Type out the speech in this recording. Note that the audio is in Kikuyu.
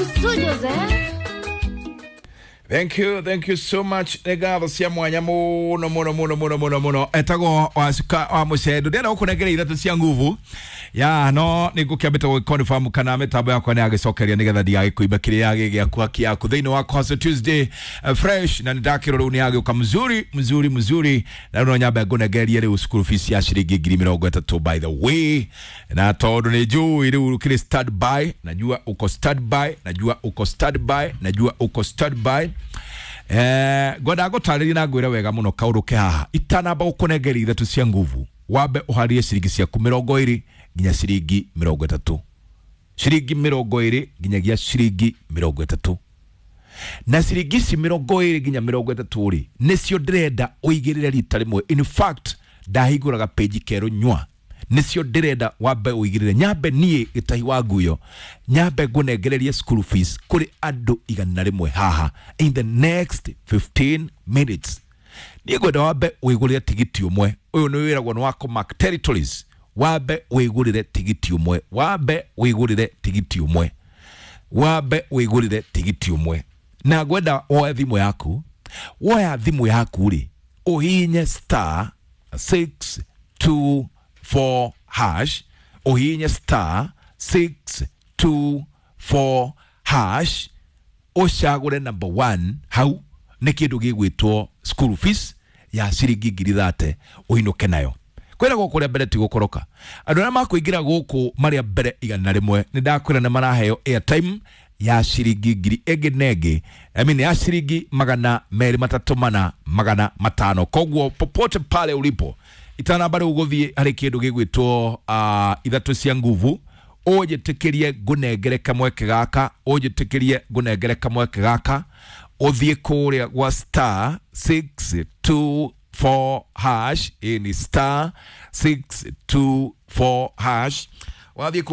Studios, eh? Thank you, thank you so much. Nĩ ngatho cia mwanya mũno mũno mũno mũno mũno mũno. Etagwo Wacuka wa Mũcendo. Ndĩrenda gũkũnengera ithatũ cia nguvu ya no nĩ ngũkĩambĩte gũgĩconfirm kana mĩtambo yakwa nĩ yagĩcokeria nĩgetha ndigagĩkũimba kĩrĩa gĩ gĩaku haki yaku thĩinĩ wa Hustle Tuesday fresh na nĩndakĩrwo rĩu nĩ yagĩũka mzuri mzuri mzuri, na rĩu no nyambe ngũnengerie rĩu school fees ya ciringi 30,000, by the way, na tondũ nĩ njũĩ rĩu kĩrĩ stand by, najua uko stand by, najua uko stand by, najua uko stand by. Ngwendaga gũtarĩria na ngwĩre wega mũno kaũndũ ke haha. Itanamba gũkũnengeria ithatũ cia nguvu, wambe ũharie ciringi ciaku 20 nginya ciringi 30, ciringi 20 nginyagia ciringi 30. Na ciringi ici 20 nginya 30 rĩ, nĩcio ndĩrenda ũigĩrĩre rita rĩmwe. In fact, ndahingũraga page kerũ nyua, nĩcio ndĩrenda wambe ũigĩrĩre. Nyambe niĩ gĩtahi wa nguyo nyambe ngũnengererie school fees kũrĩ andũ 100 haha in the next 15 minutes. Niĩ ngwenda wambe wĩgũrĩre tigiti ũmwe. Ũyũ nĩ wĩragwo nĩ wa kũmark territories. Wambe wĩgũrĩre tigiti ũmwe, wambe wĩgũrĩre tigiti ũmwe, wambe wĩgũrĩre tigiti ũmwe. Na ngwenda woe thimũ yaku, woya thimũ yaku rĩ, ũhihinye *624#, ũhihinye *624#, ũcagũre number 1. Hau nĩ kĩndũ gĩgwĩtwo school fees ya ciringi 30,000 ũinũke nayo. Kwĩra gũkũ rĩa mbere ti gũkoroka. Andũ arĩa makũingĩra gũkũ marĩa mbere 100, nĩ ndakwĩra nĩ maraheo airtime ya ciringi ngiri ĩngĩ na ĩngĩ, I mean, ya ciringi 234 500. Koguo popote pale ulipo, itanamba rĩu gũthiĩ harĩ kĩndũ gĩgwĩtwo ithatũ cia nguvu, ũnjĩtĩkĩrie ngũnengere kamweke gaka, ũnjĩtĩkĩrie ngũnengere kamweke gaka, ũthiĩ kũrĩa gwa *624#. Ĩ ni *624#, wathiĩ kũu.